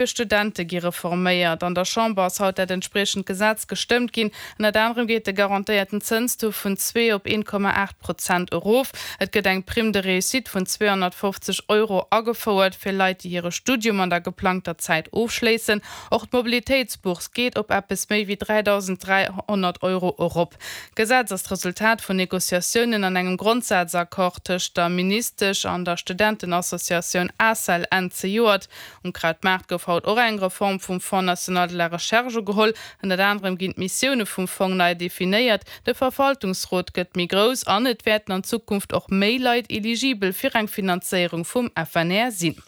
Fir Studente gi reforméiert. An der Chamber ass haut dat entspriechend Gesetz gestëmmt ginn. Ënnert anerem geet de garantéierten Zënstaux vun 2 op 1,8 Prozent erof. Et gëtt eng Prime de réussite vun 250 Euro agefouert fir Leit, déi hire Studium an der geplangter Zäit ofschléissen. Och d'Mobilitéitsbourse geet op eppes méi wéi 3.300 Euro erop. D'Gesetz ass d'Resultat vun Negociatiounen an engem Grondsazaccord tëscht der Ministesch an der Studentenassociatioun ACEL Enn zejoert. Um Krautmaart gouf haut och eng Reform vum Fonds national de la recherche ugeholl. Ënnert anerem ginn d'Missioune vum Fong nei definéiert, de Verwaltungsrot gëtt méi grouss an et wäerten an Zukunft och méi Leit eligibel fir eng Finanzéierung vum FNR sinn.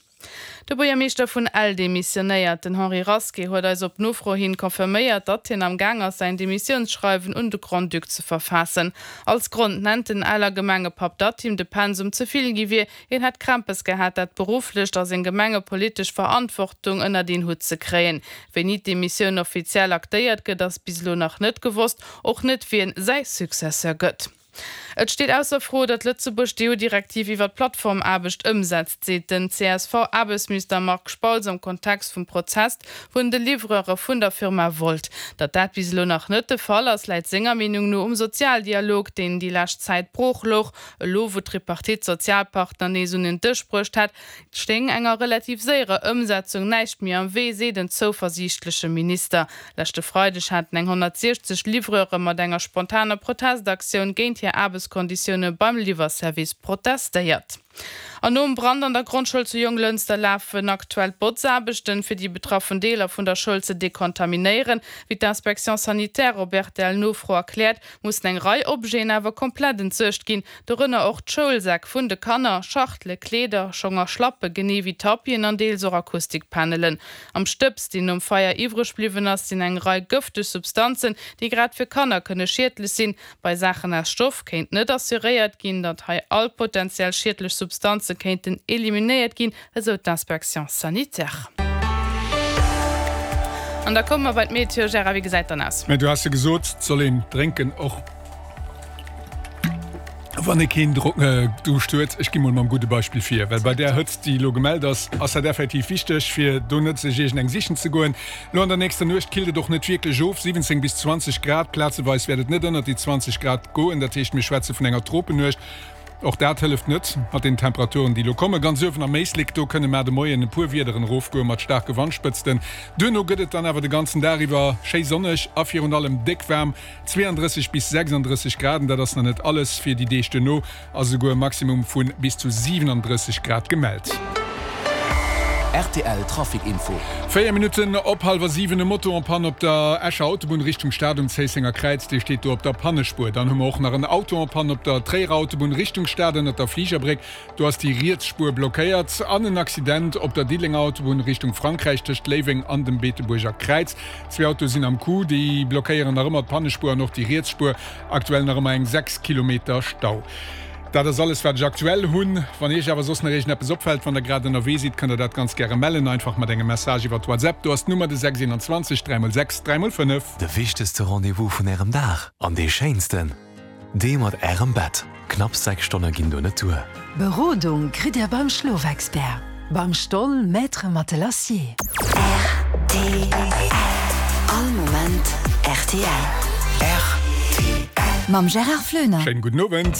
De Buergermeeschter vun Ell demissionéiert. Den Henri Rasqué huet eis op Nofro hin confirméiert, datt hien am Gaang ass säin Demissiounsschreiwen un de Grand-Duc ze verfaassen. Als Grond nennt den Eller Gemengepapp, datt him de Pensum ze vill gi wier, Hien hätt Krämpes gehat, dat berufflecht a seng gemengepolitesch Verantwortung ënnert een Hutt ze kréien. Wéini d'Demissioun offiziell aktéiert gëtt, ass bis elo nach net gewosst, och net wien säi Successeur gëtt. Et steet ausser Fro, datt Lëtzebuerg d'EU-Direktiv iwwer d'Plattformaarbecht ëmsetzt, seet den CSV-Aarbechtsminister Marc Spautz am Kontext vum Prozest vun de Livreure vun der Firma Wolt. Datt dat bis elo nach net de Fall ass, läit senger Meenung no um Sozialdialog, deen déi lescht Zäit brooch louch. Elo wou d'Tripartite d'Sozialpartner nees un en Dësch bruecht hätt, stéing enger relativ séierer Ëmsetzung näischt méi am Wee, seet en zouversiichtleche Minister. Leschte Freideg haten eng 160 Livreure mat enger spontaner Protestaktioun géint hir Aarbechtskonditioune beim Liwwerservice protestéiert. An nom Brand an der Grondschoul zu Jonglënster lafen aktuell d'Botzaarbechten, fir déi betraffen Deeler vun der Schoul ze dekontaminéieren. Wéi d'Inspection sanitaire op RTL-Nofro erkläert, mussen eng Rei Objeten awer komplett entsuergt ginn, dorënner och d'Schoulsäck vun de Kanner, Schachtele, Kleeder, Schong a Schlappe genee wéi Tapisen an deels och Akustikpanelen. Am Stëbs, deen nom Feier iwwreg bliwwen ass, sinn eng Rei gëfteg Substanzen, déi grad fir Kanner kënne schiedlech sinn. Bei Saachen aus Stoff kéint net assuréiert ginn, datt hei all potentiell schiedlech Substanze kéinten eliminéiert ginn, esou d'Inspection sanitaire. An da komme mer bei d'Meteo. Gérard, wéi gesäit dann aus? Mä du has jo gesot, 't soll een drénken, och wann ee keen Duuscht huet. Ech gi mol mam gudde Beispill vir, well bei där Hëtzt, déi elo gemellt ass, ass dat effektiv wichteg, fir do net sech iergend eng sichen ze goen. Lo an der nächster Nuecht killt et och net wierklech of, 17 bis 20 Grad, plazeweis wäert et net ënnert déi 20 Grad goen, dat heescht mir schwätze vun enger Tropennuecht. Och dat hëlleft net mat den Temperaturen déi lo kommen. Ganz uewen am Éislek, do kënne mar de Moien e puer Wiederen erofgoe mat staarke Wandspëtzten. Duerno gëtt et dann awer de ganzen Dag iwwer schéi sonneg a virun allem déck waarm, 32 bis 36 Grad. An dat ass nach net alles, fir déi Deeg duerno ass esouguer e Maximum vu bis zu 37 Grad gemellt. Rtl Trafic Info. 4 Minutten op hallwer 7, e Moto en panne op der Escher Autobunn Richtung Stad um Zéissenger Kräiz, dee steet do op der Pannespuer. Dann hu mer och nach en Auto en panne op der Tréierer Autobunn Richtung Stad ënnert der Fligerbréck, do ass déi riets Spuer blockéiert. An en Accident op der Diddelenger Autobunn Richtung Frankräich tëscht Léiweng an dem Beetebuerger Kräiz. Zwee Autoe sinn am Coup, déi blockéieren nach ëmmer d'Pannespuer an och déi riets Spuer. Aktuell nach ëmmer eng 6 Kilometer Stau. Dat ass alles wat ech aktuell hunn. Wann iech awer soss nach iergendeppes opfält, wann der grad ënnerwee sidd, kënnt der dat ganz gäre mellen, einfach mat engem Message iwwert WhatsApp. Do ass d'Nummer de 6 21 3 x 6 3 x 5. De wichtegste Rendez-vous vun ärem Dag an dee schéinsten, dee mat ärem Bett. Knapps 6 Stonne ginn do net duer. Berodung kritt Dir beim Schlofexpert, beim Stoll Maître Matelassier. Rtl All Moment rtl. Mam Gérard Floener. Schéinen gudden Owend.